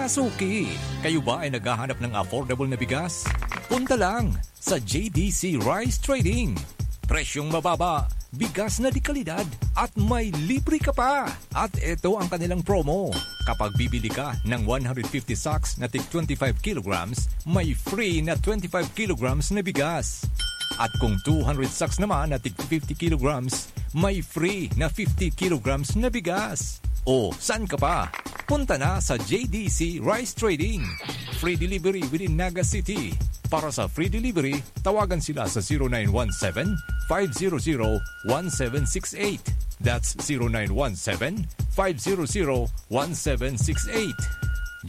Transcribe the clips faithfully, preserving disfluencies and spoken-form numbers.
Suki, kayo ba ay naghahanap ng affordable na bigas? Punta lang sa J D C Rice Trading. Presyong mababa, bigas na de kalidad, at may libre ka pa! At ito ang kanilang promo. Kapag bibili ka ng one hundred fifty sacks na tig twenty-five kilograms, may free na twenty-five kilograms na bigas. At kung two hundred sacks naman na tig fifty kilograms, may free na fifty kilograms na bigas. O, saan ka pa? Punta na sa J D C Rice Trading. Free delivery within Naga City. Para sa free delivery, tawagan sila sa zero nine one seven, five zero zero, one seven six eight. That's zero nine one seven, five zero zero, one seven six eight.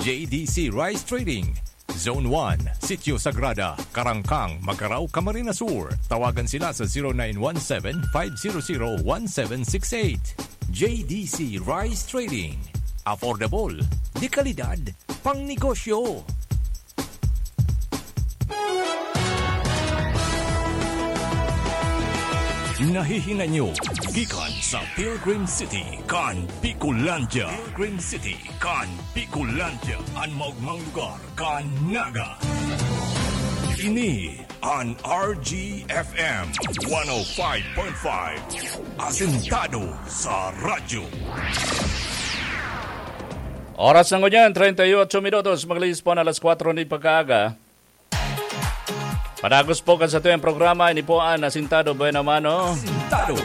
J D C Rice Trading, Zone one, Sitio Sagrada, Karangkang, Magarao, Camarines Sur. Tawagan sila sa zero nine one seven, five zero zero, one seven six eight. J D C Rice Trading. Affordable, de kalidad, pang negosyo. Nahihinay nyo gikan sa Pilgrim City kan Bicolandia. Pilgrim City kan Bicolandia, an maogmang lugar kan Naga. Ini an R G F M one oh five point five, asentado sa radyo. Oras na ngunyan, treinta y ocho minutos, maglihis po na alas kwatro nin pagkaaga. Padagos po kan satuyang programa, ini po an Asintado Buena Mano. Asintado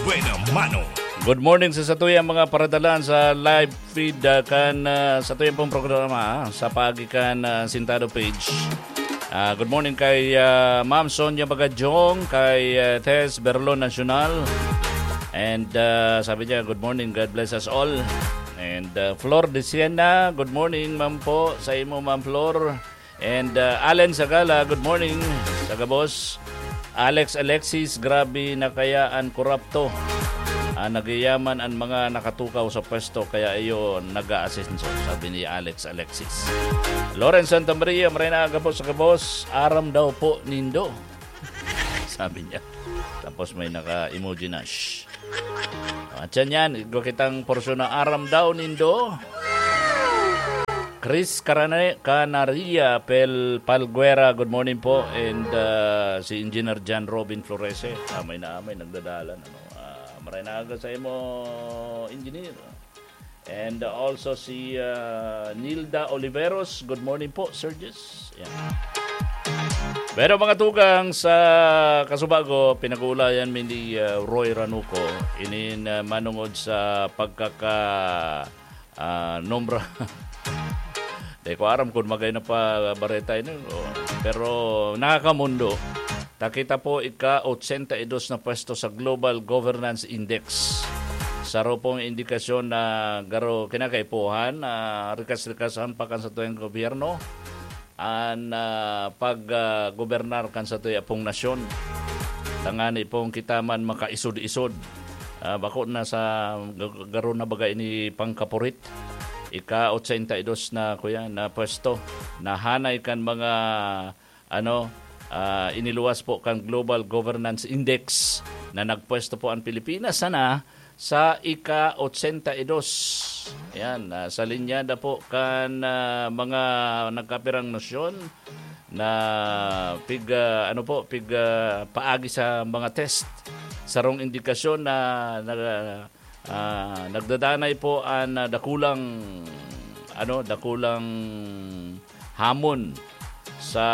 Buena Mano. Good morning sa satuyang mga paradalan sa live feed, ah, kan, ah, satuyang pong programa, ah, sa paagi kan, ah, Asintado page. Ah, good morning kay, ah, Ma'am Sonia Bagajong, kay, ah, Tess Berlon Nacional. And, ah, sabi niya, "Good morning, God bless us all." And, ah, Flor de Siena, good morning, ma'am po, sa imo, Ma'am Flor. And, ah, Allen Sagala, good morning sa gabos. Alex Alexis, grabe na kaya an korapto. Ah, nagyayaman an mga nakatukaw sa pwesto, kaya iyo nag-aasenso, sabi ni Alex Alexis. Lawrence Santa Maria, maray na aga po sa gabos. Aram daw po nindo. Sabi niya. Tapos may naka-emoji na, "Shh." At yan yan, igwa kitang porsyon na aram daw nindo. Chris Carane-, Canaria Pel Palguera, good morning po. And, ah, si Engineer John Robin Florese, amay na amay, nagdadalan. Ano? Ah, maray na aga sa imo, Engineer. And, uh, also si, uh, Nilda Oliveros. Good morning po, Sir Jess. Yan. Pero mga tugang sa kasubago, pinag-uulayan mi ni, uh, Roy Ranuco. Inin, uh, manungod sa pagkaka, uh, nombra. Di ko aram kung magay na pa bareta ini, o, pero nakakamundo. Ta kita po ika-ochenta y dos na pwesto sa Global Governance Index. Saro pong indikasyon na garo kinakaipuhan na rikas-rikasan pa kan satuyang gobyerno an, ah, pag, ah, gobernar kan satuya pong nasyon. Tangani pong kita man makaisod-isod. Ah, bako na sa g-, garo na baga ini pangkapurit. Ika-ochenta y dos na, kuya, na pwesto. Nahanay kan mga ano, ah, iniluwas po kan Global Governance Index na nagpwesto po ang Pilipinas sana sa ika-ochenta y dos. Ayan, ah, sa linyada po kan, ah, mga nagkapirang nasyon na pig, ah, ano po, pig, ah, paagi sa mga test. Sarong indikasyon na, na ah, nagdadanay po an, ah, dakulang, ano, dakulang hamon sa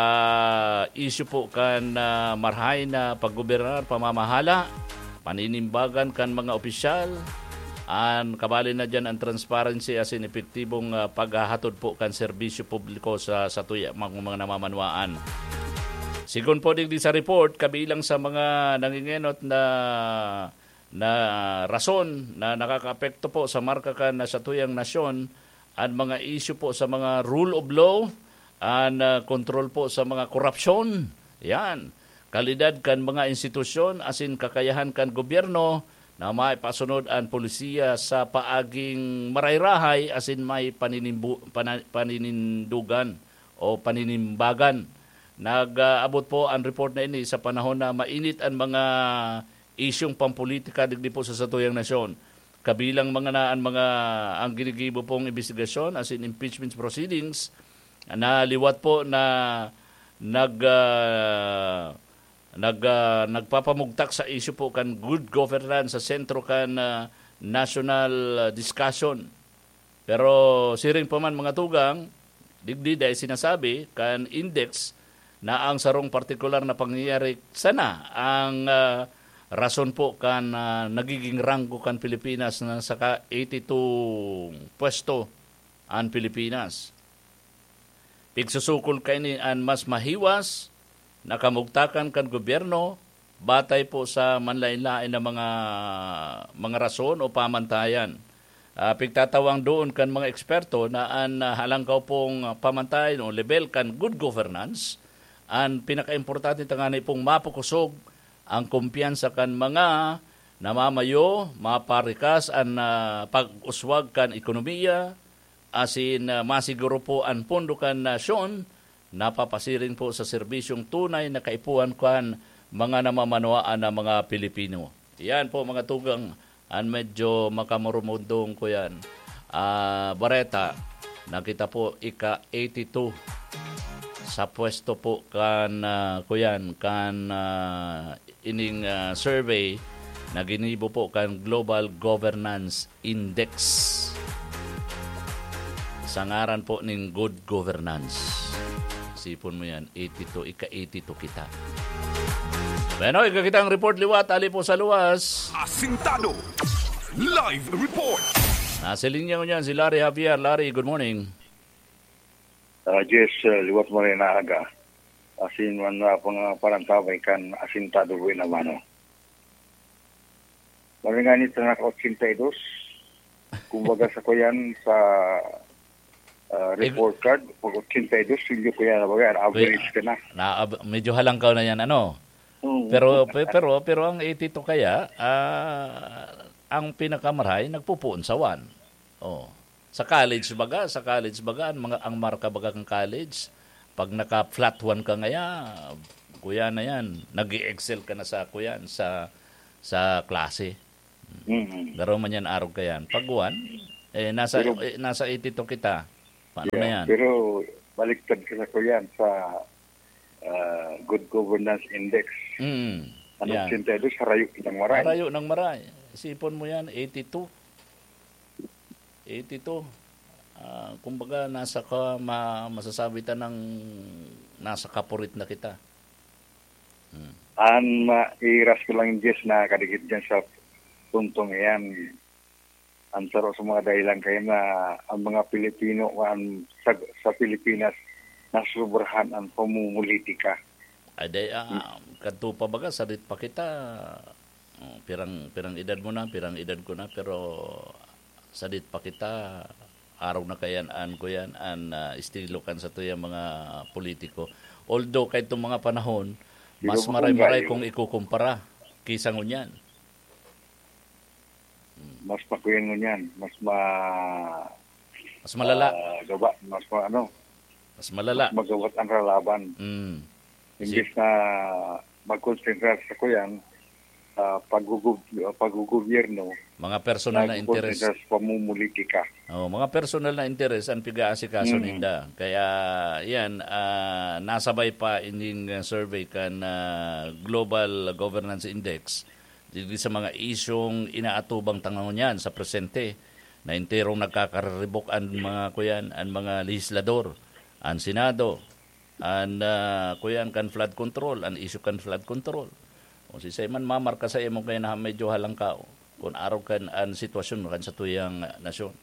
isyu po kan, ah, marahay na paggobernar, pamamahala, paninimbagan kan mga opisyal, an kabali na diyan an transparency asin epektibong, ah, paghahatod po kan serbisyo publiko sa, sa tuya, mga, mga namamanwaan. Sigon po digdi sa report, kabilang sa mga nangingenot na na rason na nakakaapekto po sa marka kan satuyang nasyon, an mga isyu po sa mga rule of law, an, ah, kontrol po sa mga korupsyon. Yan. Kalidad kan mga institusyon asin kakayahan kan gobyerno na maipasunod an polisiya sa paaging marayrahay asin may paninimbu-, pana-, paninindugan o paninimbagan. Nag-aabot po an report na ini sa panahon na mainit an mga isyung pampolitika digdi po sa satuyang nasyon. kabilang mga na, ang mga, ang ginigibo pong imbestigasyon, as in impeachment proceedings, na liwat po na nag, ah, nag, ah, nagpapamugtak sa isyu po kan good governance sa sentro kan, ah, national, ah, discussion. Pero siring pa man, mga tugang, digdi dai sinasabi kan index na ang sarong partikular na pangyayari sana ang, ah, rason po kan, ah, nagiging ranggo kan Pilipinas na sa ka eighty-two pwesto an Pilipinas. Pigsusukol kaini an mas mahiwas na kamugtakan kan gobyerno batay po sa manlaen-laen na mga, mga rason o pamantayan. Ah, pigtatawang doon kan mga eksperto na an, ah, halangkaw pong pamantayan o lebel kan good governance, an pinakaimportante tangani pong mapakusog ang kumpiyansa kan mga namamayo, maparikas an, ah, pag-uswag kan ekonomiya, asin, ah, masiguro po an pondo kan nasyon napapasiring po sa serbisyong tunay na kaipuhan kan mga namamanwaan na mga Pilipino. Yan po, mga tugang, an medyo makamurumundong ko yan. Ah, bareta, nakita po ika eighty-two sa pwesto po kan, ah, kuyan, kan, ah, ining, ah, survey na ginibo po kan Global Governance Index. Sa ngaran po ning good governance. Sipon mo yan, eighty-two, ika eighty-two kita. Bueno, ika kita ang report liwat, ali po sa luwas. Asintado. Live report. Nasa linya ko niyan si Larry Javier. Larry, good morning. Ah, yes, ah, liwat mo rin na aga. Asin man na pang parantabay kan asintado buhay na mano. Maringanit na naka ochenta y dos. Kumbaga sa kuyan sa, ah, Eh, report card, pag ochenta y dos, silyo ko yan, baga, average ka na. Na, ab-, medyo halangkaw na yan, ano? Oo. Pero, pe-, pero, pero ang eighty-two kaya, ah, ang pinakamaray, nagpupuon sa one. Oh. Sa college baga, sa college baga, ang mga, ang marka baga kan college, pag naka-flat one ka ngaya, kuya na yan, nag-e-excel ka na sa, kuya, sa, sa klase. Mm. Garo man yan, arog ka yan. Pag one, eh, nasa, Pero eh, nasa eighty-two kita. Paano na Yeah, yan? pero baliktad ka sa kuyan sa, ah, Good Governance Index. Mm. Ano, Yeah. ochenta y dos, harayo ng maray. Harayo ng maray. Isipon mo yan, eighty-two. Eighty-two. Ah, kumbaga, nasa ka, ma-, masasabi ta ng nasa kapurit na kita. Hmm. An mairas ko lang, Jess, na kadikit dyan sa puntong iyan. Ang saro sa mga dahilan kayo na ang mga Pilipino, an, sa, sa Pilipinas, nasobrahan ang pamumulitika. Ay, day, ah, kadto pa baga, sadit pa kita. Oh, pirang, pirang edad mo na, pirang edad ko na, pero sadit pa kita. Araw na kayan, an ko yan, an, ah, estilo kan sa tuyang mga politiko. Although, kahit itong mga panahon, mas Pero maray-maray kung kung ikukumpara kaysa ngunyan. Hmm. Mas makuyan ngunyan, mas ma-, Mas malala. ah, gaba, mas ma-, ano, Mas malala. mas magawat ang kalaban. Mm. Imbis Si- na magkonsentra sa kuyan, ah, pagugub-, ah, paggugobyerno, Mga personal na nagkokonsentra interes. sa pamumulitika. Oh, mga personal na interes ang pig-aasikaso Mm. ninda. Kaya yan, ah, nasabay pa ining, ah, survey kan, ah, Global Governance Index. Digdi sa mga isyung inaatubang ta ngunyan sa presente, na enterong nagkakaribok an mga, kuyan, an mga lehislador, an Senado, an, ah, kuyan, kan flood control, an isyu kan flood control. O si Simon, mamarka sa imo kaya na medyo halangkaw, kung araw kan an sitwasyon kan sa tuyang nasyon.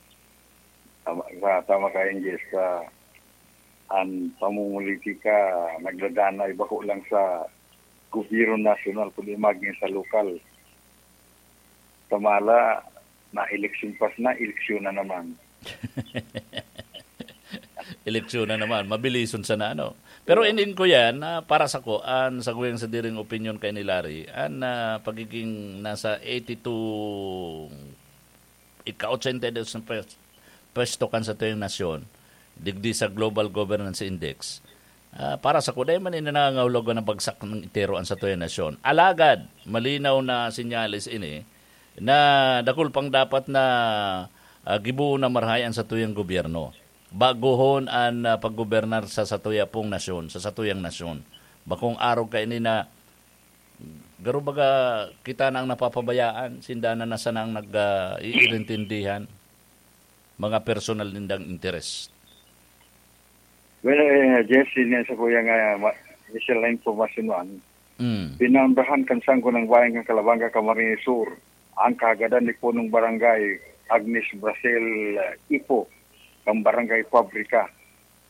Tama, sa, tama ka, N G S, sa an pamumulitika, nagdadanay bako lang sa gobyerno nasyonal, kundi maging sa lokal. Sa mala, na eleksyon pas na, eleksyon na naman. Eleksyon na naman, mabilison sana, ano. Pero Oo. Inin ko yan, ah, para sa ko, an sa kuyang sa diring opinion kay ni Larry, an, ah, pagiging nasa eighty-two, ika-ochenta y dos na pwes-, pwesto kan sa tuyang nasyon, digdi sa Global Governance Index, ah, para sa ko, dai man ini nangangahulugan na bagsak ng itero an sa tuyang nasyon. Alagad, malinaw na senyales ini, na dakul pang dapat na, ah, gibohon na marahay an satuyang gobyerno. Bagohon an, ah, paggobernar sa satuya pong nasyon, sa satuyang nasyon. Bakong arog kaini na garo baga kita na ang napapabayaan, sinda na sana ang nag, ah, iirintindihan, mga personal nindang interes. Well, eh, Jesse, niya sa kuya nga, ma-, Michelle na informasyon man. Mm. Pinaundahan kan Sangguniang Bayan kan Calabanga, Camarines Sur, ang kahagadan ni punong barangay Agnes Brasel, eh, Ipo, kan barangay Fabrica.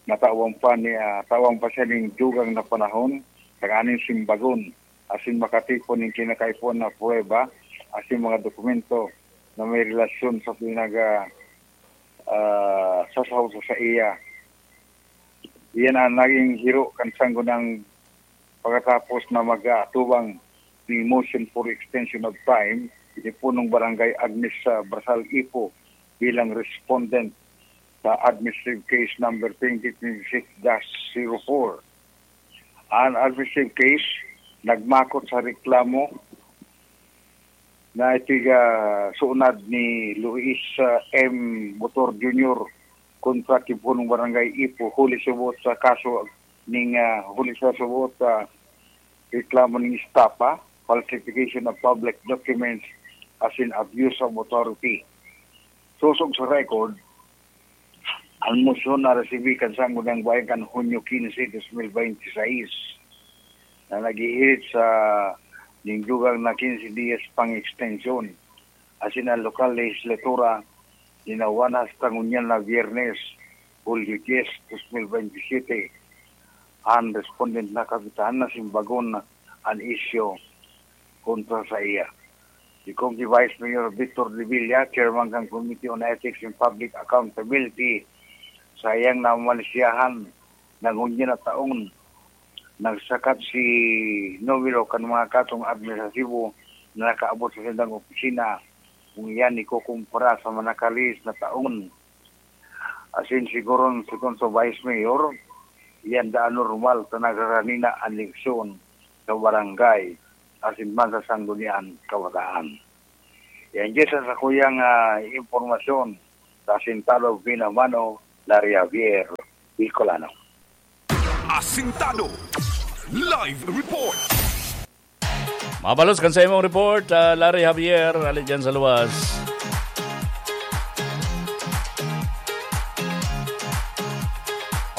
Natawan pa ni, ah, tawan pa siya ning dugang na panahon, tanganing simbagon, asin makatipon ning kinakaipuhan na pruweba, asin mga dokumento na may relasyon sa pinag, ah, ah, sasaw sa saiya. Iyan ang naging hiro kan Sangguniang pagkatapos na mag-aatubang ning motion for extension of time, ini punong barangay Agnes sa Brasal Ipo bilang respondent sa administrative case number twenty twenty-six dash zero four. An administrative case nagmakot sa reklamo na itiga sunad ni Luis, ah, M. Botor Junior kontra ki punong barangay Ipo, huli subot sa kaso ning, ah, huli sa subot sa reklamo ning estafa, falsification of public documents, asin abuse of authority. Sosog sa record, ang motion na resibi kan Sangguniang Bayan kan Hunyo quince, dos mil veintiseis, na naghihirit sa ning dugang na quince dias pang extension. Asin ang lokal lehislatura, linawan hasta ngunyan na Biyernes, Hulyo dies, dos mil bentisiete, ang respondent na kapitan na simbagon an isyu kontra sa iya. Si Congre Vice Mayor Victor Revilla, chairman kan Committee on Ethics and Public Accountability, sa iyang namalisyahan na ngunyan na taon, nagsakat si numero kan mga katong administratibo na nakaabot sa sindang opisina, kung iyan ikukumpara sa mga nakalihis na taon. Asin siguro, segun sa Vice Mayor, iyan daan normal ta nagkakanina an eleksyon sa barangay asin man sa Sangguniang Kabataan. Yan, Jess, sa kuyang, ah, impormasyon sa Asintado Binamano, Larry Javier, Bicolano. Asintado Live Report. Mabalos kan sa imong report, ah, Larry Javier, ali dyan sa luwas.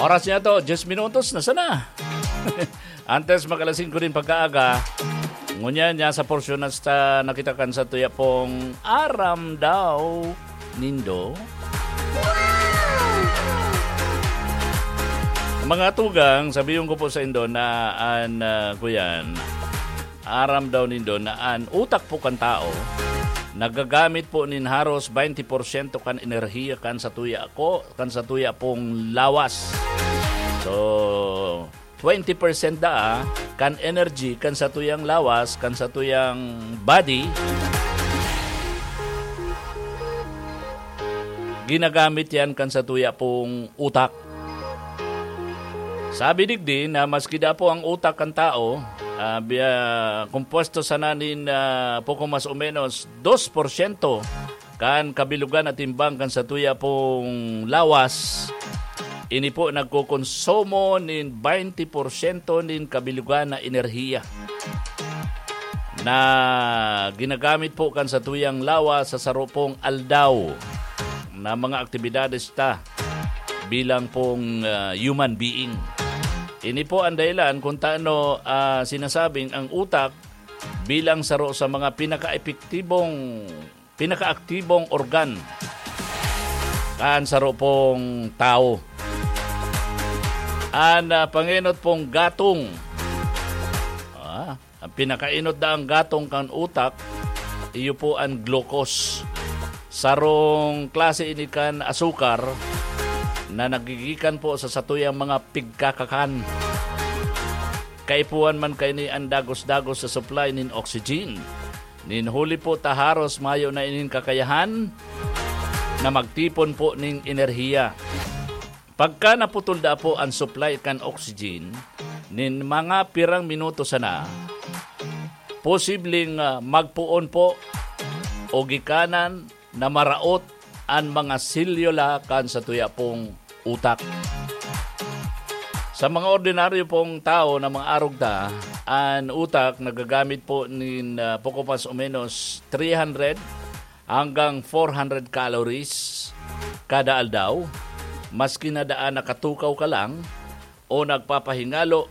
Oras niya to, diyes minutos na sana. Antes mag alas singko din pagkaaga, ngunyan niya sa porsyon na sa nakita kan sa tuya pong aram daw nindo. Mga tugang, sabihin ko po sa indo na an, ah, kuyan, aram daw nindo na an utak po kan tao nagagamit po nin haros twenty porsyento kan enerhiya kan sa tuya ko, kan sa tuya pong lawas. So, twenty percent daa kan energy kan satuyang lawas, kan satuyang body, ginagamit yan kan satuya pong utak. Sabi digdi na maski da po ang utak kan tao, ah, bi-, ah, kompuesto sana nin, ah, poko mas o menos dos porsyento kan kabilugan na timbang kan satuya pong lawas, ini po nagkokonsumo nin twenty porsyento nin kabilugan na enerhiya na ginagamit po kan satuyang lawas sa saro pong aldaw na mga aktibidades ta bilang pong, ah, human being. Ini po ang dahilan kung taano, ah, sinasabing ang utak bilang saro sa mga pinaka-epektibong, pinakaaktibong organ kan saro pong tawo. An, ah, pangenot pong gatong, ah, ang pinakaenot daang gatong kan utak, iyo po an glucose. Sarong klase ini kan asukar na nagigikan po sa satuyang mga pigkakakan. Kaipuhan man kaini an dagos-dagos sa supply nin oxygen. Nin huli po ta haros mayo na ining kakayahan na magtipon po ning enerhiya. Pagka naputol da po an supply kan oxygen, nin mga pirang minuto sana, posibleng, ah, magpoon po o gikanan na maraot an mga selyula kan satuya pong utak. Sa mga ordinaryo pong tawo na mga arog ta, an utak nagagamit po nin, ah, poko mas o menos three hundred hanggang four hundred calories kada aldaw. Maski na daan nakatukaw ka lang o nagpapahingalo,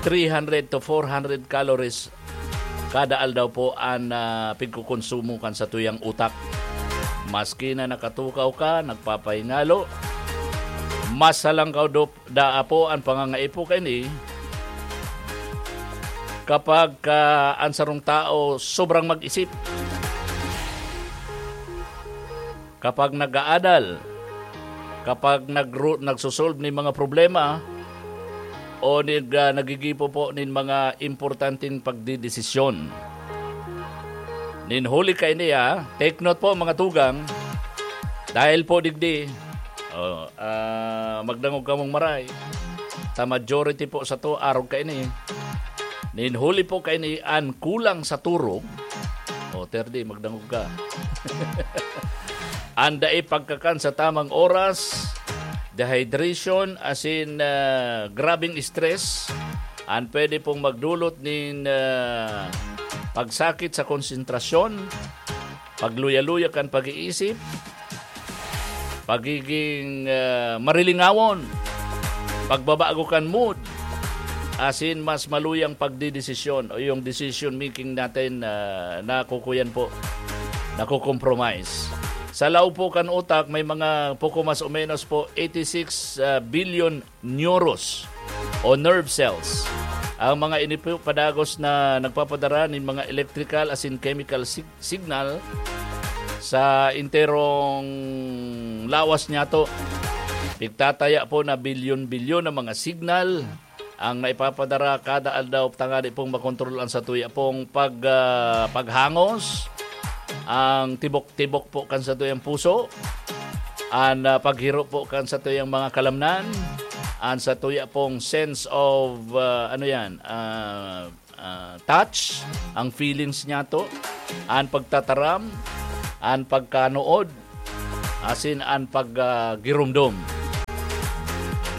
three hundred to four hundred calories kada aldaw po an, ah, pigkokonsumo kan satuyang utak. Maski na nakatukaw ka, nagpapahingalo, mas halangkaw dop-, daa po an pangangaipo kaini kapag, ah, an sarong tao sobrang mag-isip. Kapag nag-aadal, kapag nagru-, nagsosolve nin mga problema, o nig-, ah, nagigibo po nin mga importanteng pagdedesisyon. Nin huli kaini, ah, take note po, mga tugang, dahil po digdi, oh, ah, magdangog kamong maray, ta majority po sato, arog kaini. Nin huli po kaini an kulang sa turog. O, Terdi, magdangog ka. An dai pagkakan sa tamang oras, dehydration, asin, ah, grabeng stress, an pwede pong magdulot nin, ah, pagsakit sa konsentrasyon, pagluya-luya kan pag-iisip, pagiging, ah, marilingawon, pagbabago kan mood, asin mas maluyang pagdedesisyon o yung decision making natin, ah, nakukuyan po, nakukompromise. Sa laog po kan utak, may mga poko mas o menos po eighty-six, ah, billion neuros o nerve cells. Ang mga ini po padagos na nagpapadara nin mga electrical asin chemical sig-, signal sa enterong lawas niyato. Pigtataya po na bilyon-bilyon na mga signal ang naipapadara kada aldaw tangani pong makontrol ang satuya pong pag-, ah, paghangos, ang tibok-tibok po kan satuyang puso, an, ah, paghiro po kan satuyang mga kalamnan, an satuya pong sense of, ah, ano yan, ah, ah, touch, ang feelings niyato, an pagtataram, an pagkanood, asin an pag, ah, giromdom.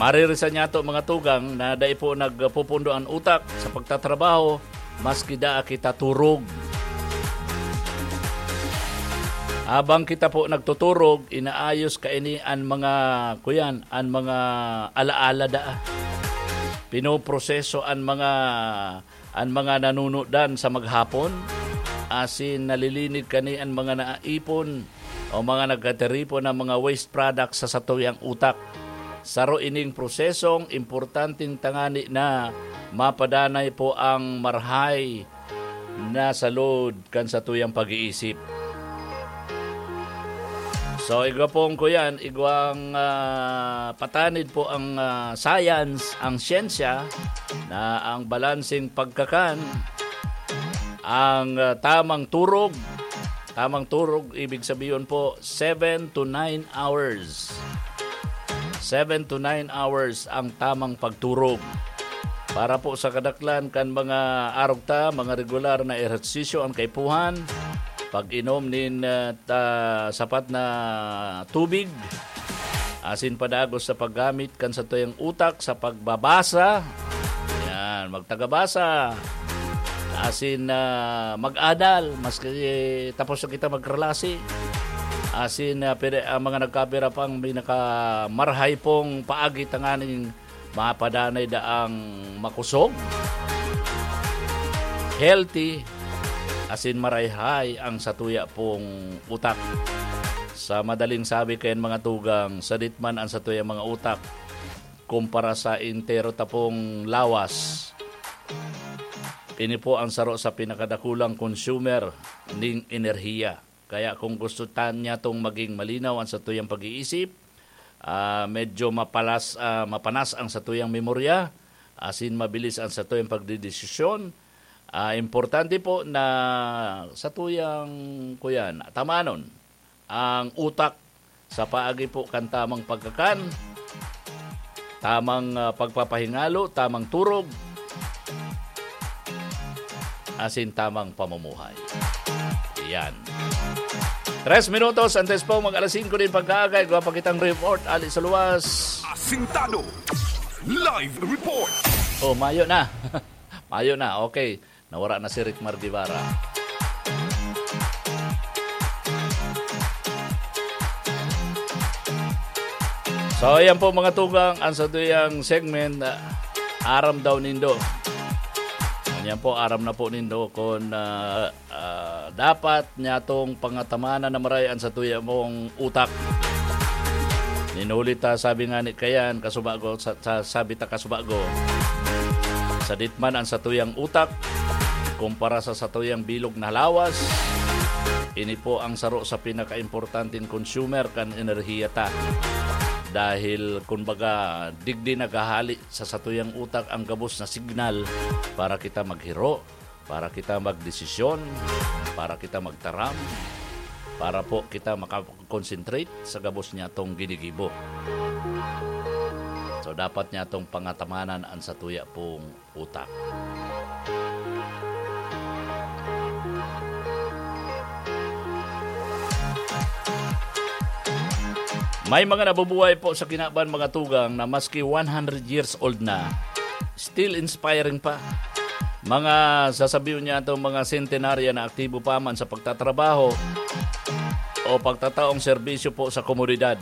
Maririsan niyato, mga tugang, na dai po nagpupundo an utak sa pagtatrabaho, maski daa kita turog. Habang kita po nagtuturog, inaayos kaini an mga, kuyan, an mga alaala daa. Pinoproseso an mga, an mga nanunudan sa maghapon, asin nalilinig kani an mga naipon o mga nagkatiripon na mga waste products sa satuyang utak. Saro ining prosesong importanteng tangani na mapadanay po ang marhay na sa load kan satuyang pag-iisip. So, igwa pong kuyan, igwang, ah, patanid po ang, ah, science, ang siyensya, na ang balanseng pagkakan, ang, ah, tamang turog, tamang turog, ibig sabihin po, seven to nine hours. Seven to nine hours ang tamang pagturog. Para po sa kadaklan kan mga arog ta, mga regular na ehersisyo an kaipuhan, pag-inom nin, ah, ta-, sapat na tubig, asin padagos sa paggamit kan satuyang utak sa pagbabasa. Yan, magtagabasa. Asin, ah, mag-adal, maski tapos na kita magkalasi. Asin, ah, pwede, ang mga nagkapira pang pinakamarhay pong paagi tanganing mapadanay daang makosog, healthy, asin marayhay ang satuya pong utak. Sa madaling sabi kayan, mga tugang, sadit man ang satuyang mga utak kumpara sa entero ta pong lawas, ini po ang saro sa pinakadakulang consumer ning enerhiya. Kaya kung gusto ta niya tong maging malinaw ang satuyang pag-iisip, ah, medyo mapalas, ah, mapanas ang satuyang memorya, asin mabilis ang satuyang pagdedesisyon, ah, importante po na satuyang, kuyan, tamanon ang utak sa paagi po kan tamang pagkakan, tamang, ah, pagpapahingalo, tamang turog, asin tamang pamumuhay. Yan. Tres minutos antes po mag alas singko nin pagkaagay, igwa pa kitang report, ali sa luwas. Asintado. Live report. Oh, mayo na. Mayo na, okay. Nawara na si Rick Mar Guevara. So, ayan po mga tugang, ang satuyang segment, ah, aram daw nindo. Ayan po, aram na po nindo kung, ah, ah, dapat niya tong pangatamanan na maray ang satuya mong utak. Ninuli ta, sabi nga ni Kayan, kasubago, sa, sa, sabi ta kasubago, sadit man ang satuyang utak, kumpara sa satuyang bilog na lawas, ini po ang saro sa pinakaimportanteng consumer kan enerhiya ta. Dahil, kumbaga, digdi naghahali sa satuyang utak ang gabos na signal para kita maghiro, para kita magdesisyon, para kita magtaram, para po kita makakonsentrate sa gabos niya tong ginigibo. So, dapat niya tong pangatamanan ang satuya pong utak. May mga nabubuhay po sa kinaban, mga tugang, na maski one hundred years old na, still inspiring pa. Mga sasabihin niya itong mga centenarian na aktibo pa man sa pagtatrabaho o pagtataong serbisyo po sa komunidad.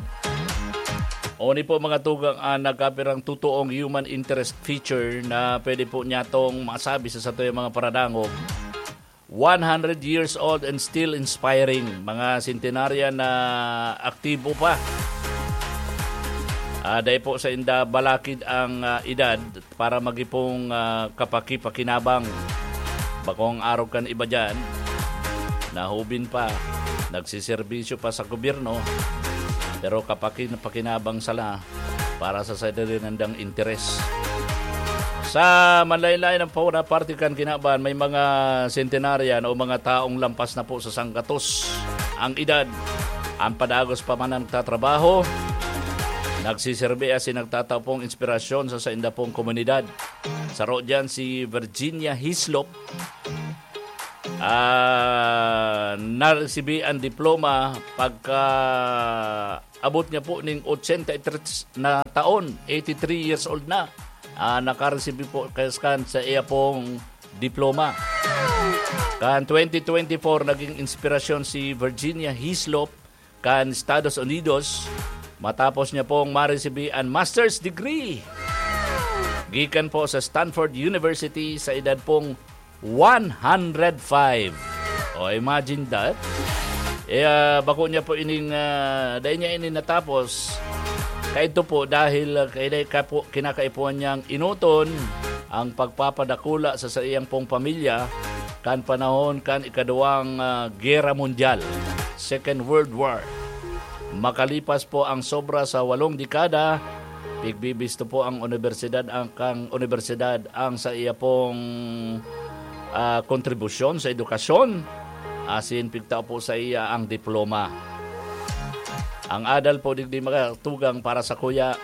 Oni po, mga tugang, ang nagkapirang totoong human interest feature na pwede po niya tong masabi sa satuyang mga paradangog. One hundred years old and still inspiring. Mga centenarian na aktibo pa. Ah, dai po sa inda balakid ang, ah, edad para magipong, ah, kapakipakinabang. Bakong arog kan iba dyan, nahubin pa, nagsiserbisyo pa sa gobyerno, pero kapakin-, pakinabang sala para sa sarili nandang interes. Sa manlain-lain ang puna parte kan kinaban, may mga centenarian o mga taong lampas na po sa sanggatos ang edad. Ang padagos pa man ang nagtatrabaho, nagsiserbi asin nagtatao pong inspirasyon sa sainda pong komunidad. Saro diyan si Virginia Hislop. Ah, naresibi ang diploma pagka abot niya po ning ochenta y tres na taon, eighty-three years old na. Ah, nakaresibi po kan sa iya pong diploma. Kan twenty twenty-four, naging inspirasyon si Virginia Hislop kan Estados Unidos, matapos niya pong maresibi an master's degree gikan po sa Stanford University sa edad pong one hundred five. O, imagine that. Eh, ah, bako niya po ining, ah, dai niya ini natapos. Kaidto po dahil, ah, kaiday ka po, kinakaipuhan niyang enoton ang pagpapadakula sa saiyang pong pamilya kan panahon kan ikaduwang, ah, Gera Mundial, Second World War. Makalipas po ang sobra sa walong dekada, pigbibisto po ang unibersidad, ang kang unibersidad ang sa iya pong, ah, kontribusyon sa edukasyon, asin pigtao po sa iya ang diploma. Ang adal po digdi makatugang para sa kuya.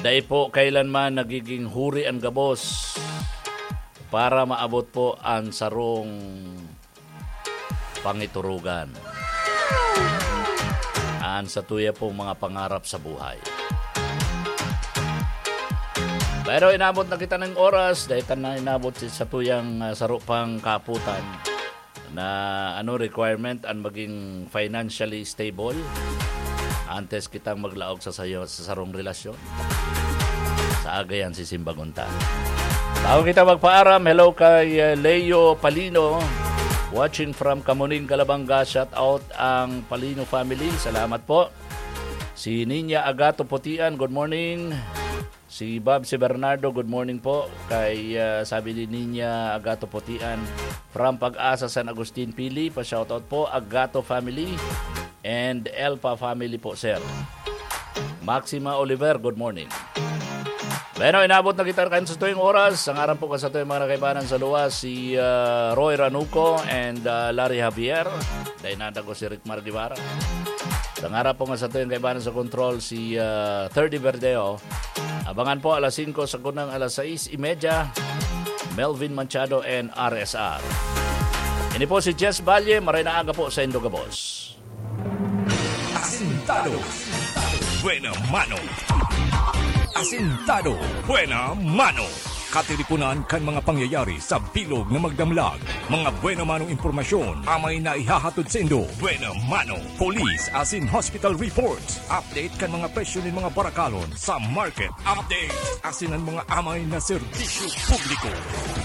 Dai po kailanman nagiging huri an gabos para maabot po an sarong pangiturugan. An satuya pong mga pangarap sa buhay. Pero inabot na kita ng oras, dahil ta na inabot si satuyang, ah, saro pang kaputan na ano requirement ang maging financially stable antes kitang maglaog sa sayo, sa sarong relasyon. Sa agayan si Simbag Unta. Bago kita magpaaram, hello kay, uh, Leo Palino, watching from Kamuning, Calabanga. Shout out ang Palino family. Salamat po. Si Ninya Agato Putian, good morning. Si Bob, si Bernardo, good morning po. Kay, uh, sabi ni Ninya Agato Putian, from Pag-asa, San Agustin, Pili. Pa-shoutout po, Agato family. And Elpa family po, sir. Maxima Oliver, good morning. Bueno, inabot na kita kan satuyang oras. Ang aram po kan satuyang mga nakaibanan sa luwas, si, ah, Roy Ranuco and, ah, Larry Javier. Dahil nadago si Rick Mar Guevara. Ang aram po kan satuyang kaibanan sa control, si, ah, Thirdy Verdeo. Abangan po alas singko sa kunang alas sais y media. Melvin Machado and R S R. Ini po si Jess Valle, maray na aga po sa indo gabos. Asintado. Buena mano. Asintado. Buena mano. Katiriponan kan mga pangyayari sa bilog na magdamlag. Mga buena manong impormasyon amay na ihahatod sa indo. Buena mano. Police asin hospital reports. Update kan mga presyo nin mga barakalon sa market. Update asin an mga amay na serbisyo publiko.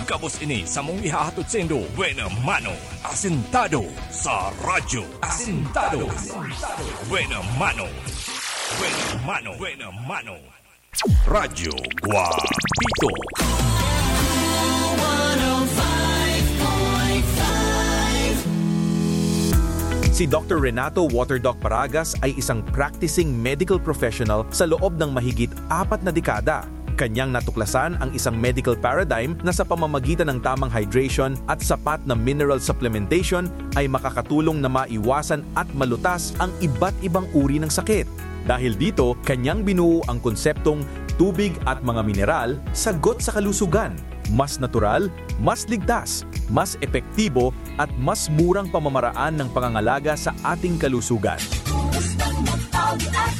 Gabos ini samong ihahatod sa indo. Buena mano. Asintado sa radyo. Asintado. Buena mano. Buena mano. Buena mano. Radyo Guapito. Si Doctor Renato Waterdoc Paragas ay isang practicing medical professional sa loob ng mahigit apat na dekada. Kanyang natuklasan ang isang medical paradigm na sa pamamagitan ng tamang hydration at sapat na mineral supplementation ay makakatulong na maiwasan at malutas ang iba't ibang uri ng sakit. Dahil dito, kanyang binuo ang konseptong tubig at mga mineral, sagot sa kalusugan. Mas natural, mas ligtas, mas epektibo, at mas murang pamamaraan ng pangangalaga sa ating kalusugan.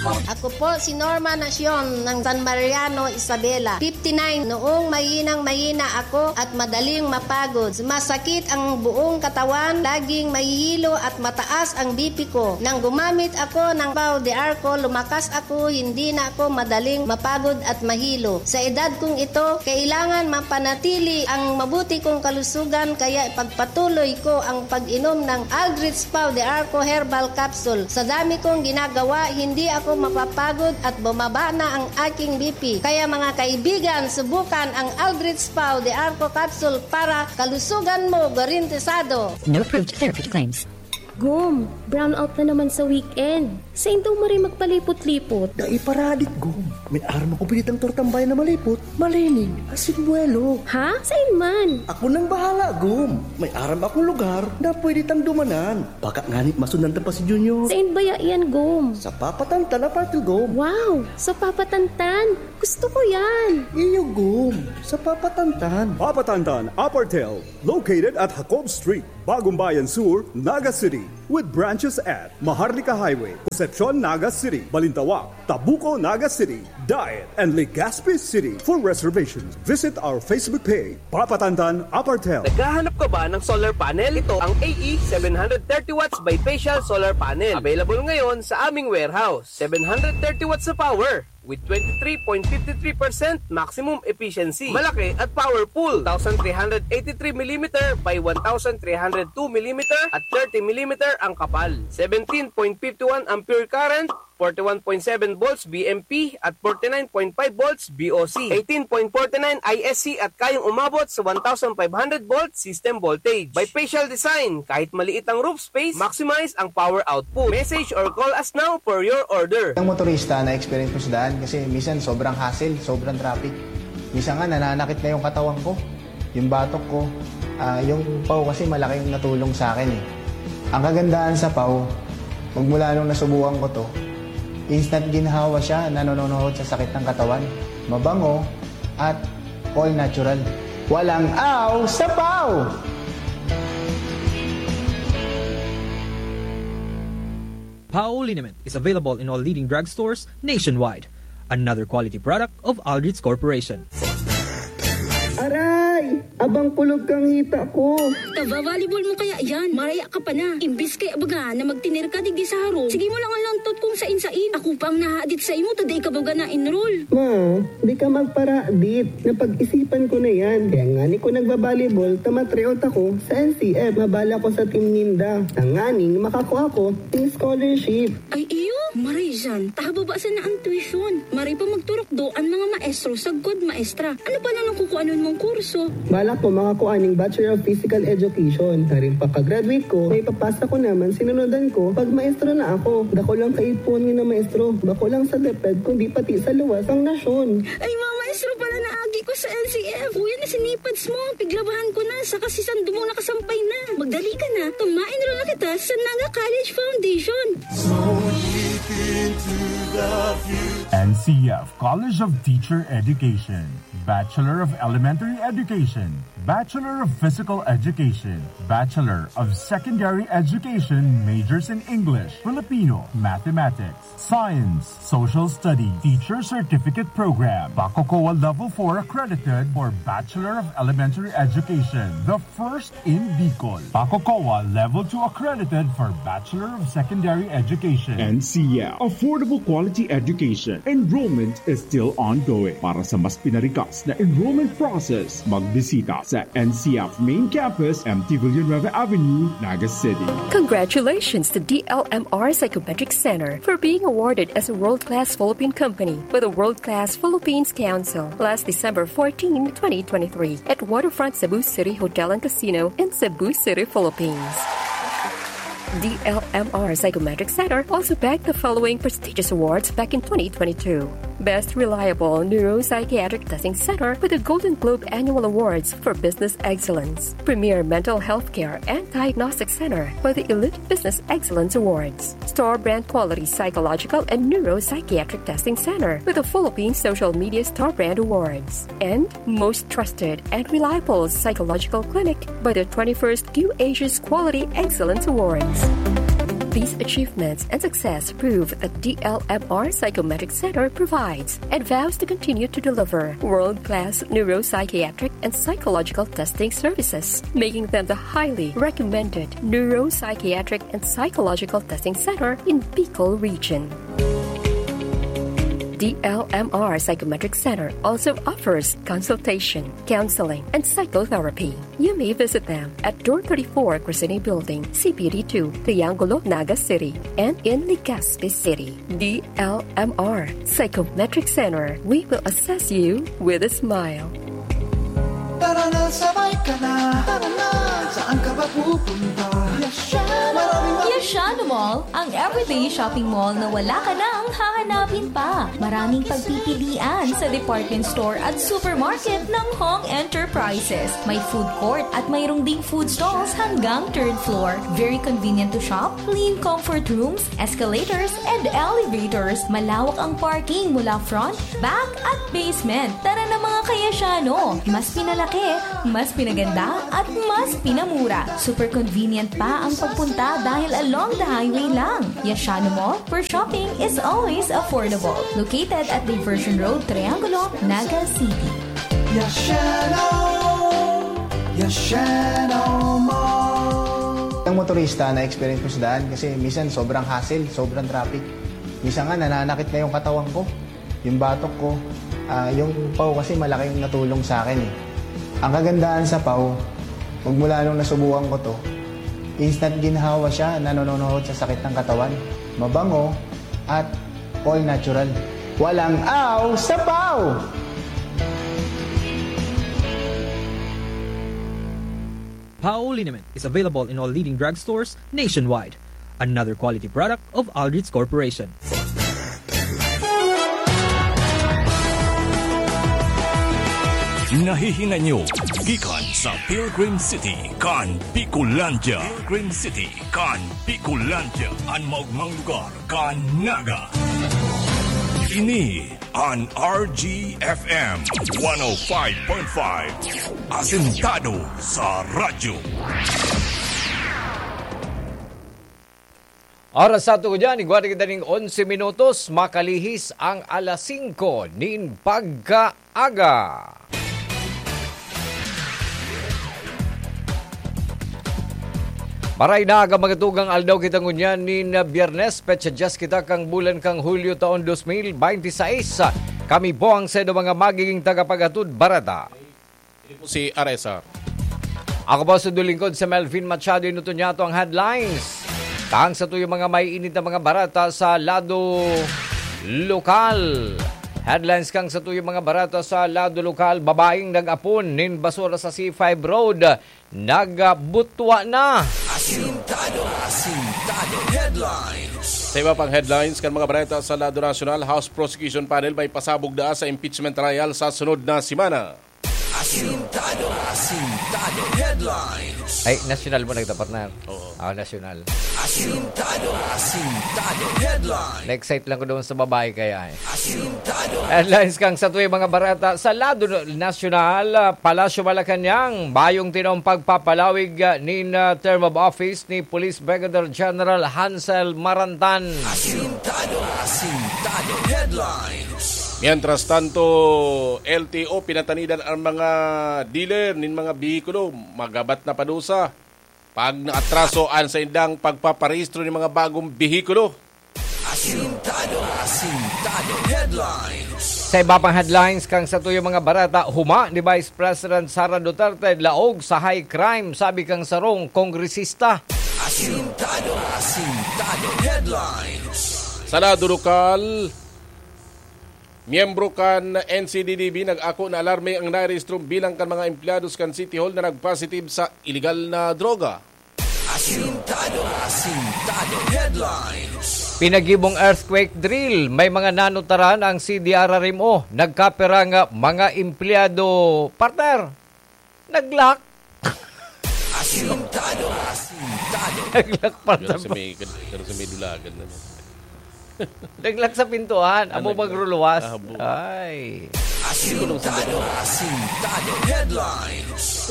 Ako po si Norma Nacion ng San Mariano, Isabela, fifty-nine. Noong mahinang mahina ako at madaling mapagod, masakit ang buong katawan, laging mahihilo at mataas ang B P ko. Nang gumamit ako ng Pau de Arco, lumakas ako, hindi na ako madaling mapagod at mahilo. Sa edad kong ito, kailangan mapanatili ang mabuti kong kalusugan, kaya ipagpatuloy ko ang pag-inom ng Aldrich Pau de Arco Herbal Capsule. Sa dami kong ginagawa, hindi ako mapapagod at bumaba na ang aking B P. Kaya mga kaibigan, subukan ang Aldrich Pau de Arco Capsule para kalusugan mo garantisado. No approved therapy claims. Gum, brownout na naman sa weekend. Sain daw maray magpalipot-lipot? Dai paradit, Gum. May aram ako pwede tang tortang bayan na malipot, malinig, asin buwelo. Ha? Sain man? Ako nang bahala, Gum. May aram akong lugar na pwede tang dumanan. Baka nganit masundan ta pa si Junior. Sain baya yan, Gum? Sa Papa Tantan Apartel, Gum. Wow! Sa Papa Tantan! Gusto ko yan! Iyo, Gum. Sa Papa Tantan. Papa Tantan Apartel, located at Jacob Street, Bagong Bayan Sur, Naga City, with branches at Maharlika Highway, Concepcion, Naga City, Balintawak, Tabuco, Naga City, Daet, and Legazpi City. For reservations, visit our Facebook page, Papa Tantan Apartel. Naghahanap ka ba ng solar panel? Ito ang A E seven hundred thirty watts bifacial solar panel. Available ngayon sa aming warehouse. Seven hundred thirty watts na power with twenty-three point five three percent maximum efficiency. Malaki at powerful. Two thousand three hundred eighty-three millimeter by one thousand three hundred two millimeter at thirty millimeter ang kapal. Seventeen point five one ampere current, forty-one point seven volts B M P at forty-nine point five volts B O C. Eighteen point forty-nine I S C at kayang umabot sa one thousand five hundred volt system voltage. Bifacial design, kahit maliit ang roof space, maximize ang power output. Message or call us now for your order. Ang motorista na experience ko sa daan kasi minsan sobrang hassle, sobrang traffic. Minsan nga nananakit na yung katawan ko, yung batok ko. Ah, yung Pau kasi malaking natulong sa akin eh. Ang kagandahan sa Pau, magmula nung nasubukan ko to, instant ginhawa siya, nanononohod sa sakit ng katawan. Mabango at all natural. Walang aw sa Pau! Pau liniment is available in all leading drugstores nationwide. Another quality product of Aldrich Corporation. Aray! Abang kulog kang hita ko. Tava volleyball mo kaya yan? Maraya ka pa na. Imbis kaya baga na magtinir ka digdi sa harong, sige mo lang ang lantot kung sain-sain. Ako pa ang nahadit sa imo, ta dai ka baga na-enroll. Ma, di ka magparadit. Napag-isipan ko na yan. Kaya ngani ko nagbabalibol, ta matreot ako sa N C F. Mabala ko sa team ninda. Tanganing makakua ko ng scholarship. Ay iyo, maray dyan. Tahababa sana ang tuition. Maray pa magturukdo ang mga maestro sagkod maestra. Ano pala nang kukuanon mong kurso? Balak ko makakua ning Bachelor of Physical Education. Haring pagka-graduate ko, may papasa ko naman sinunudan ko pag maestro na ako. Dako lang kaipuhan nga na maestro. Bako lang sa DepEd, kundi pati sa luwas ang nasyon. Ay, mga maestro pala na agi ko sa N C F. Uy, na sinipads mo. Piglabahan ko na. Saka si Sandumong nakasampay na. Magdali ka na. Tumain rin na kita sa Naga College Foundation. N C F College of Teacher Education, Bachelor of Elementary Education, Bachelor of Physical Education, Bachelor of Secondary Education, majors in English, Filipino, Mathematics, Science, Social Studies, Teacher Certificate Program, Paco COA Level four accredited for Bachelor of Elementary Education, the first in Bicol. Paco COA Level two accredited for Bachelor of Secondary Education. N C F, affordable quality education. Enrollment is still ongoing. Para sa mas pinarikas na enrollment process, magbisita sa N C F Main Campus, M T Villanueva Avenue, Naga City. Congratulations to D L M R Psychometric Center for being awarded as a world-class Philippine company by the World Class Philippines Council last December fourteen, twenty twenty-three, at Waterfront Cebu City Hotel and Casino in Cebu City, Philippines. D L M R Psychometric Center also bagged the following prestigious awards back in twenty twenty-two: Best Reliable Neuropsychiatric Testing Center with the Golden Globe Annual Awards for Business Excellence, Premier Mental Health Care and Diagnostic Center with the Elite Business Excellence Awards, Store Brand Quality Psychological and Neuropsychiatric Testing Center with the Philippine Social Media Store Brand Awards, and Most Trusted and Reliable Psychological Clinic by the twenty-first Q Asia's Quality Excellence Awards. These achievements and success prove that D L M R Psychometric Center provides and vows to continue to deliver world-class neuropsychiatric and psychological testing services, making them the highly recommended neuropsychiatric and psychological testing center in Bicol region. D L M R Psychometric Center also offers consultation, counseling, and psychotherapy. You may visit them at Door thirty-four, Crescene Building, C P D two, Triangulo, Naga City, and in Legazpi City. D L M R Psychometric Center. We will assess you with a smile. Tara na, sabay ka na. Tara na, saan ka ba pupunta? Yashano! Maraming Yashano Mall, ang everyday shopping mall na wala ka nang hahanapin pa. Maraming pagpipilian sa department store at supermarket ng Hong Enterprises. May food court at mayroong ding food stalls hanggang third floor. Very convenient to shop, clean comfort rooms, escalators, and elevators. Malawak ang parking mula front, back, at basement. Tara na, mga ka-Yashano! Mas pinalaki, mas pinaganda, at mas pinamura. Super convenient pa ang pagpunta dahil along the highway lang. Yashano Mall, where shopping is always affordable. Located at Diversion Road, Triangulo, Naga City. Yashano! Yashano Mall! Ang motorista na experience ko sa daan kasi minsan sobrang hassle, sobrang traffic. Minsan nga nananakit na yung katawan ko, yung batok ko. Ah, yung paw kasi malaking natulong sa akin eh. Ang kagandahan sa paw, magmula nung nasubukan ko to, instant ginhawa siya, nanononohod sa sakit ng katawan. Mabango at all natural. Walang aw sa paw! Paw liniment is available in all leading drugstores nationwide. Another quality product of Aldrich Corporation. Nahihinay nyo gikan sa Pilgrim City kan Bicolandia. Pilgrim City kan Bicolandia, an maogmang lugar kan Naga. Ini an R G F M one oh five point five. Asentado sa radyo. Oras sa ato ko dyan, igwa na kita ning onse minutos, makalihis ang alas singko nin pagkaaga. Maray na aga, mga tugang, aldaw kita ngunyan nin Biyernes, petsa dyes kita kan bulan kan Hulyo, taon dos mil bente seis. Kami po ang saindo mga magiging tagapaghatod bareta. Ini po si Aresa. Ako po sa lingkod, si Melvin Machado. Inuto niya to ang headlines. Tang sa tuyong mga maiinit na mga bareta sa lado lokal. Headlines kan sa tuyong mga bareta sa lado lokal: babaeng nag-apon nin basura sa C five Road, nagbutwa na. Asintado, asintado headlines. Sa iba pang headlines kan mga bareta sa lado nasyonal, House Prosecution Panel may pasabog na sa impeachment trial sa sunod na semana. Asintado, asintado headlines. Ay, nasyonal mo nagdapat na. Oo. Ah, nasyonal. Asintado, asintado headlines. Na-excite lang ko doon sa babae kaya eh. Asintado. Headlines kang sa tuwing mga barata sa lado nasyonal, ah, Palasyo Malacañang, bayong tinaong pagpapalawig, ah, nin, ah, term of office ni Police Brigadier General Hansel Marantan. Asintado, asintado headlines. Mientras tanto, L T O, pinatanidan ang mga dealer nin mga behikulo, magabat na padusa pag naatraso an saindang pagpaparehistro nin mga bagong behikulo. Asintado, asintado headlines. Sa iba pang headlines kang sa tuyo mga barata, huma ni Vice President Sara Duterte laog sa high crime, sabi kang sarong kongresista. Asintado, asintado headlines. Sa lado lokal, miyembro kan N C D D B nag-ako na alarme ang narehistrong bilang kan mga empleyados kan City Hall na nag-positive sa iligal na droga. Asintado, asintado headlines. Pinagibong earthquake drill, may mga nanutaran ang C D R R M O. Nagkapirang mga empleyado, partner. Naglock. Asintado, asintado. Naglock pa. Pero sa may, pero sa may dulagan na. Naglock sa pintuan, amo magruluwas. Ah, bo. Ay. Asintado, asintado headlines.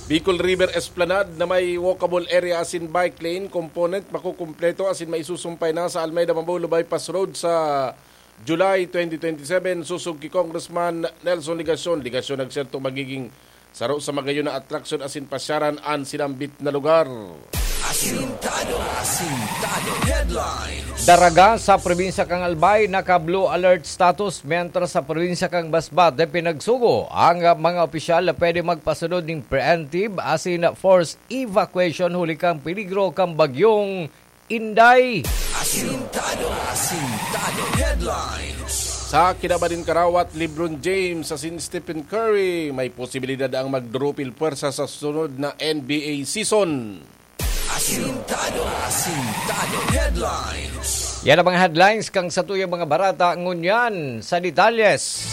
Bicol River Esplanade na may walkable area asin bike lane component makukumpleto asin maisusumpay na sa Almeida Mabolo Bypass Road sa July twenty twenty-seven, susog ki Congressman Nelson Legacion. Legacion nagserto magiging saro sa magayon na atraksyon asin pasyaran an sinambit na lugar. Asintado, asintado headlines. Daraga sa probinsya kan Albay naka-blue alert status, mientras sa probinsya kan Masbate pinagsugo ang mga opisyal na pwede magpasunod ning preemptive asin forced evacuation huli kan peligro kan bagyong Inday. Asintado, asintado headlines. Sa kinaban nin karawat, LeBron James asin Stephen Curry, may posibilidad ang magdurupil pwersa sa sunod na N B A season. Asintado, asintado headlines. Yan ang mga headlines kang sa tuyang mga barata ngunyan sa detalyes.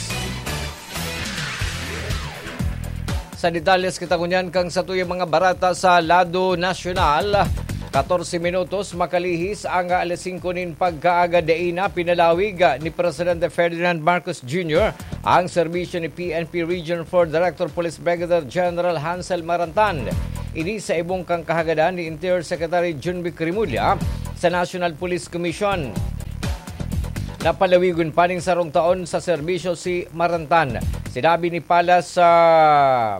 Sa detalyes kita ngunyan kang sa tuyang mga barata sa lado nasyonal. Katorse minutos makalihis ang alas singko nin pagkaaga, dai na pinalawig ni Presidente Ferdinand Marcos Junior ang serbisyo ni P N P Region four Director Police Brigadier General Hansel Marantan. Ini sa ibong kang kahagadan ni Interior Secretary Junvic Remulla sa National Police Commission. Napalawigon pa ning sarong taon sa serbisyo si Marantan. Sinabi ni Palace, ah,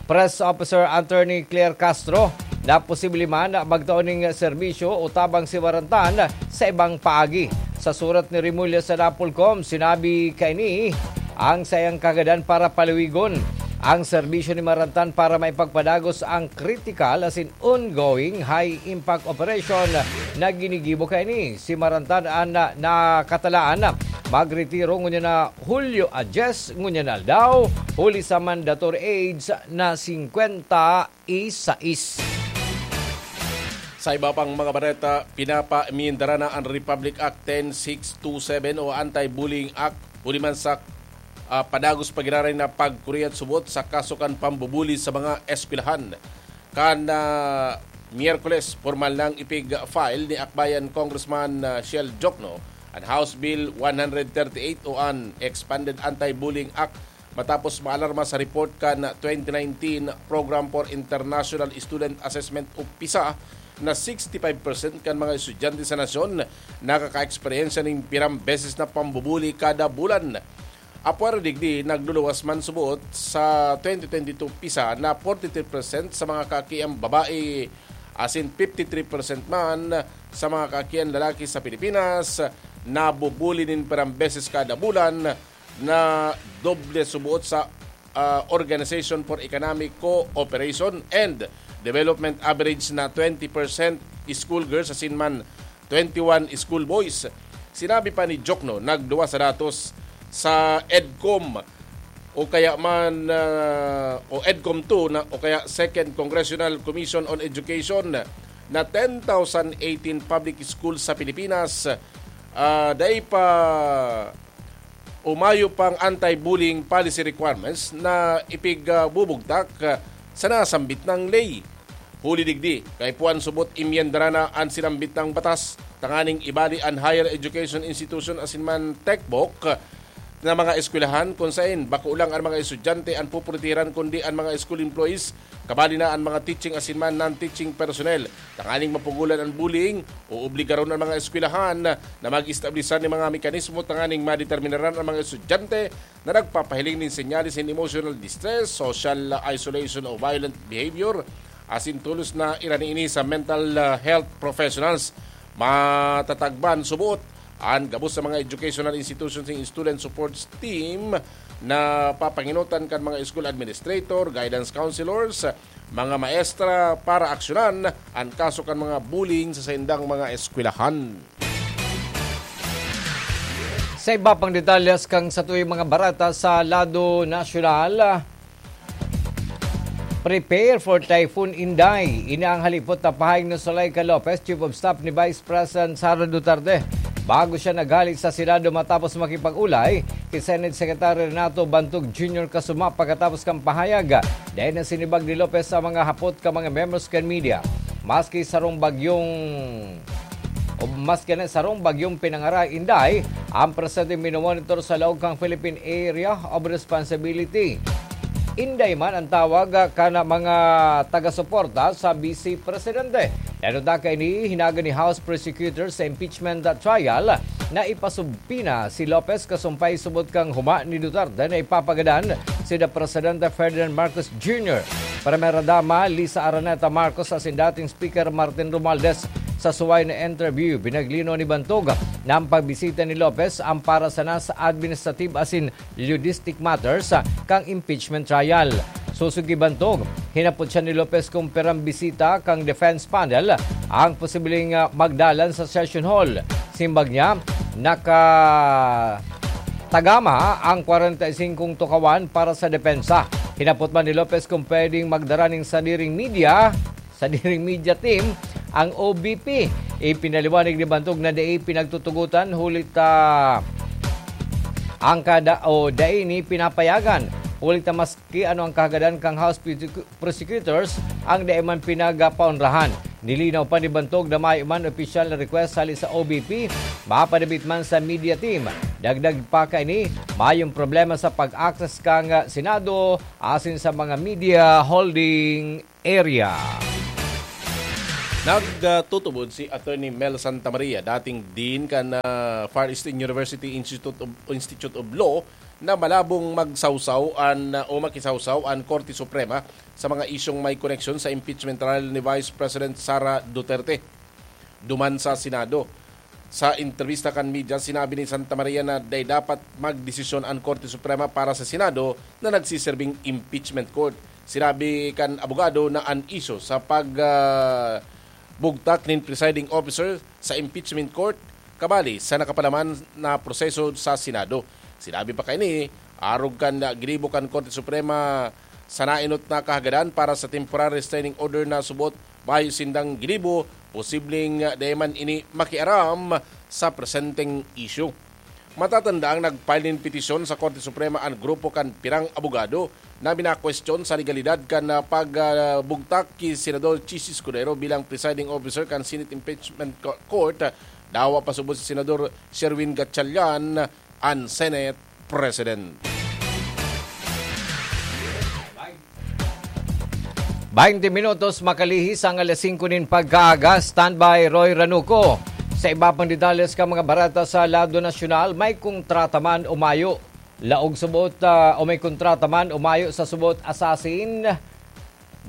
Press Officer Attorney Claire Castro na posible man magtao ning serbisyo o tabang si Marantan sa ibang paagi. Sa surat ni Remulla sa Napolcom, sinabi kaini ang sayang kagadan para palawigon ang serbisyo ni Marantan para maipagpadagos ang kritikal asin ongoing high-impact operation na ginigibo kaini. Si Marantan an na-, nakatalaan na magretiro ngunyan na Hulyo a dyes ngunyan na aldaw, huli sa mandatory age na singkwenta y sais. Sa iba pang mga bareta, pinapamindara na an Republic Act ten six two seven o Anti-Bullying Act, huli man sa, ah, padagos pa giraray na pagkuriyat subot sa kaso kan pambubuli sa mga eskwelahan. Kan, ah, Miyerkules, pormal nang ipig-file ni Akbayan Congressman, ah, Shell Jokno an House Bill one hundred thirty-eight o an Expanded Anti-Bullying Act matapos maalarma sa report kan twenty nineteen Program for International Student Assessment o PISA na sixty-five percent kan mga estudyante sa nasyon nakakaeksperyensya nin pirang beses na pambubuli kada bulan. Apwera digdi, nagluluwas man subot sa twenty twenty-two PISA na forty-three percent sa mga kaakiang babae asin fifty-three percent man sa mga kaakiang lalaki sa Pilipinas nabubuli nin pirang beses kada bulan, na doble subot sa, ah, Organization for Economic Cooperation and Development average na twenty percent schoolgirls asin man twenty-one schoolboys. Sinabi pa ni Jokno, nagduwa sa datos sa EDCOM o kaya man, ah, o EDCOM two na, o kaya Second Congressional Commission on Education na ten thousand eighteen public schools sa Pilipinas, ah, dai pa o mayo pang anti-bullying policy requirements na ipigbubugtak, ah, sa nasambit na ley. Huli digdi, kaipuhan subot imyendara na an sinambit na batas tanganing ibali an higher education institution asin man techbook na mga eskwelahan kun saen bako lang an mga estudyante an pupuritiran kundi an mga school employees, kabali na an mga teaching asin man non-teaching personnel. Tanganing mapugolan an bullying, oobligaron an mga eskwelahan na mag-establisar nin mga mekanismo tanganing madeterminaran an mga estudyante na nagpapahiling nin senyales nin emotional distress, social isolation o violent behavior, asin tolos na irani ini sa mental, ah, health professionals. Matatagban subot an gabos sa mga educational institutions nin student support team na papangenotan kan mga school administrator, guidance counselors, mga maestra para aksyonan an kaso kan mga bullying sa saindang mga eskwelahan. Sa iba pang detalyes kan satuyang mga bareta sa lado nasyonal, prepare for Typhoon Inday. Ini ang halipot na pahayag ni Zuleika Lopez, Chief of Staff ni Vice President Sara Duterte, bago siya naghali sa Senado matapos makipag-ulay ki Senate Secretary Renato Bantog Junior Kasuma. Pagkatapos kan pahayag, dai na sinibag ni Lopez sa mga hapot kan mga members kan media. Maski sarong bagyong o maski na sarong bagyong pinangaray, Inday, ang presente minomonitor sa laog kan Philippine Area of Responsibility. Inday man ang tawag, ah, kan mga taga-suporta sa Vice Presidente. Dahil ta kaini, hinaga ni House Prosecutor sa impeachment trial na ipasubpoena si Lopez kasumpay subot kan huma ni Duterte na ipapagadan si the Presidente Ferdinand Marcos Junior, Primera Dama Liza Araneta Marcos asin dating Speaker Martin Romualdez. Sa suway na interview, pinaglinaw ni Bantog na ang pagbisita ni Lopez ang para sana sa administrative asin logistic matters, ah, kan impeachment trial. Sosog ki Bantog, hinapot siya ni Lopez kung pirang bisita kan defense panel ang posibleng, ah, magdalan sa session hall. Simbag niya, nakatagama ang kwarenta y singkong tukawan para sa depensa. Hinapot man ni Lopez kung pwedeng magdara nin sadiring media, sadiring media team ang O B P. Ipinaliwanag ni Bantog na dai pinagtutugotan huli ta ang kada o dai ni pinapayagan. Huli ta maski ano ang kahagadan kan House Prosecu-, Prosecutors, ang dai man pinagapaonrahan. Nilinaw pa ni Bantog na mayo man opisyal na request hali sa O B P, mapadabit man sa media team. Dagdag pa kaini, mayong problema sa pag-access kan Senado asin sa mga media holding area. Nagtutubod si Attorney Mel Santa Maria, dating Dean kan, ah, Far Eastern University Institute of, Institute of Law, na malabong magsawsaw an, ah, o makisawsaw an Korte Suprema sa mga isyung may koneksyon sa impeachment trial ni Vice President Sara Duterte. Duman sa Senado. Sa entrebista kan media, sinabi ni Santa Maria na dai dapat magdesisyon an Korte Suprema para sa Senado na nagsiserbing impeachment court. Sinabi kan abogado na an isyu sa pag, ah, bugtak nin presiding officer sa impeachment court kabali sa nakapalaman na proseso sa Senado. Sinabi pa kaini, arog kan ginibo kan Korte Suprema sa naenot na kahagadan para sa temporary restraining order na subot mayo sindang ginibo, posibleng, ah, dai man ini makiaram sa presenteng isyu. Matatanda ang nag-file nin petisyon sa Korte Suprema an grupo kan pirang abogado na minakwestiyon sa legalidad kan, ah, pagbugtak ki Senador Chiz Escudero bilang presiding officer kan Senate Impeachment Co-, Court. Dawa pa subot si Senador Sherwin Gatchalian, an Senate President. Baynte minutos makalihis ang alas singko nin pagkaaga. Standby, Roy Ranuco. Sa iba pang detalles kan mga bareta sa lado nasyonal, may kontrata man o mayo. Laog subot, ah, o may kontrata man o mayo sa subot asasin.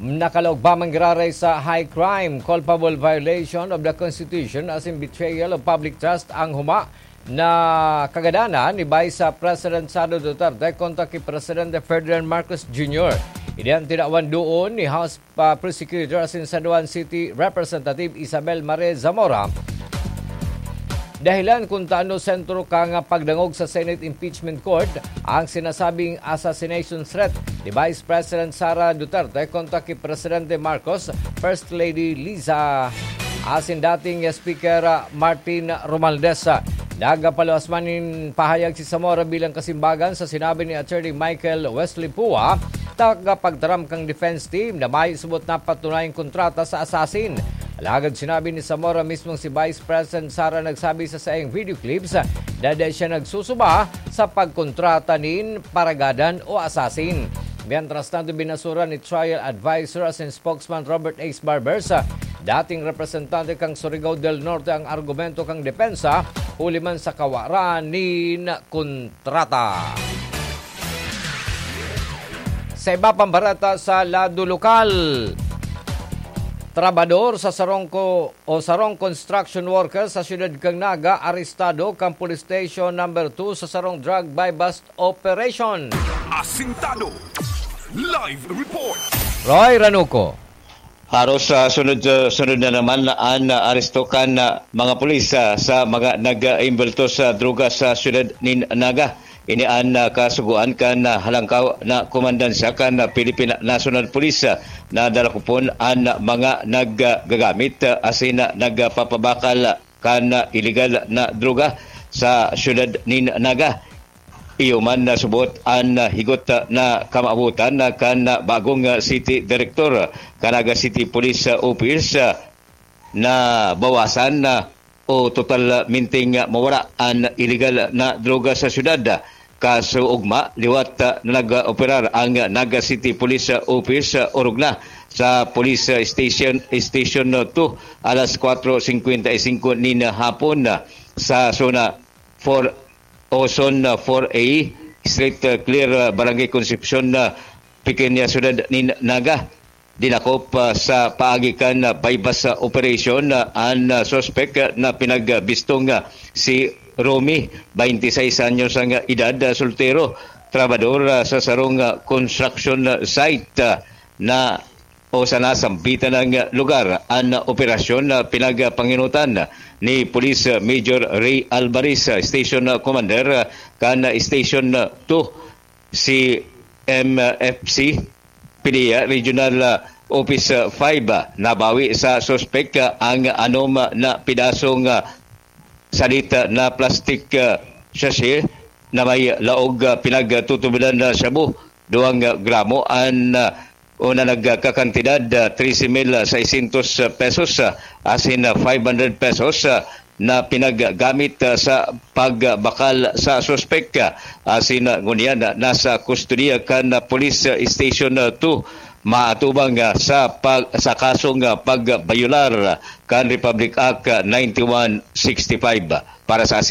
Nakalaog pa man giraray sa high crime, culpable violation of the Constitution asin betrayal of public trust ang huma na kagadanan ni Vice President Sara Duterte kontra ki Presidente Ferdinand Marcos Junior. Ini an tinawan duon ni House pa Prosecutor asin San Juan City Representative Isabel Mare Zamora. Dahilan kung taano sentro kan pagdangog sa Senate Impeachment Court ang sinasabing assassination threat ni Vice President Sara Duterte kontra ki Presidente Marcos, First Lady Liza, asin dating Speaker Martin Romualdez. Nagapaluwas man nin pahayag si Zamora bilang kasimbagan sa sinabi ni Attorney Michael Wesley Pua, tagapagtaram kan defense team, na mayo subot na patunayang kontrata sa assassin. Alagad sinabi ni Zamora mismong si Vice President Sara nagsabi sa saiyang video clips na dai siya nagsusuba sa pagkontrata nin paragadan o assassin. Mientras tanto, binasura ni trial advisor asin spokesman Robert Ace Barbers, dating representante kan Surigao del Norte, ang argumento kan depensa huli man sa kawaran nin kontrata. Sa iba pang bareta sa lado lokal, trabador sa sarong ko o sarong construction worker sa siyudad kan Naga arestado kan Police Station Number Two sa sarong drug buy-bust operation. Asintado. Live report. Roy Ranuco. Haros sa sunod, sunod na naman an aresto kan, ah, mga pulis, ah, sa mga nag-imbulto sa droga sa siyudad nin Naga. Ini an, ah, kasugoan kan, ah, halangkaw na komandansya kan, ah, Philippine National Police, ah, na dalakopon an mga naggagamit, ah, asin, ah, nagpapabakal kan iligal na droga sa siyudad nin Naga. Iyo man na subot an higot na kamaabotan kan bagong city director kan Naga City Police Office, na bawasan o totalmenteng mawara an iligal na droga sa syudad. Kaso ugma, liwat na nag-operar ang Naga City Police Office, orog na sa Police Station, Station two, alas kwatro singkwenta y singko nin hapon, sa Zona four o Zone four A, Street Clear, Barangay Concepcion, Pequeña Syudad nin Naga. Dinakop, ah, sa paagi kan, ah, buy-bust operation, ah, an, ah, suspek, ah, na pinagbistong, ah, si Romy, twenty-six anyos ang, ah, edad, ah, soltero, trabador, ah, sa sarong, ah, construction, ah, site, ah, na o sa nasambitan na lugar. An operasyon na pinagpanginutan ni Police Major Ray Alvarez, Station Commander kan Station two, si M F C, PDEA Regional Office five. Nabawi sa suspek ang anom na pidasong sadit na plastic sachet na may laog pinagtutubodan na shabu, duwang gramo an, ah, o na nagkakantidad, ah, trese mil seiscientos pesos, ah, asin, ah, five hundred pesos, ah, na pinaggamit, ah, sa pagbakal sa suspek, ah, asin, ah, ngunyan, ah, nasa kustodiya kan, ah, Police, ah, Station, ah, two, maatubang, ah, sa pag-, sa kasong, ah, pagbayolar, ah, kan Republic Act, ah, ninety-one sixty-five. Para sa